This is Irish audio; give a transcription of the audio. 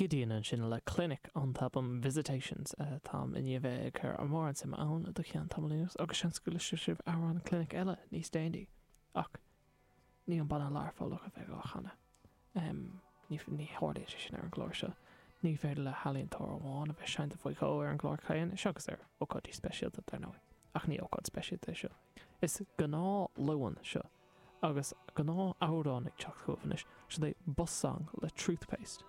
Gideon ansin le Clinic ón t-albam Visitations. Táim i ndiaidh a bheith ag cur mórán suime ann do cheann tamall anuas agus seans go gcloisfidh sibh amhrán Clinic eile níos déanaí. Ach ní an banna Learphollach a bheidh á chanadh. Ní ní tharlaíonn sé sin ar an gclár seo. Ní féidir le healaíontóir amháin a bheith seinnte faoi dhó ar an gclár céanna, seachas ar ócáidí speisialta, dar ndóigh. Ach ní ócáid speisialta é seo. Is gnáth Luan seo. Agus gnáth amhrán ag teacht chugaibh anois, sin é Bus Song le Truthpaste.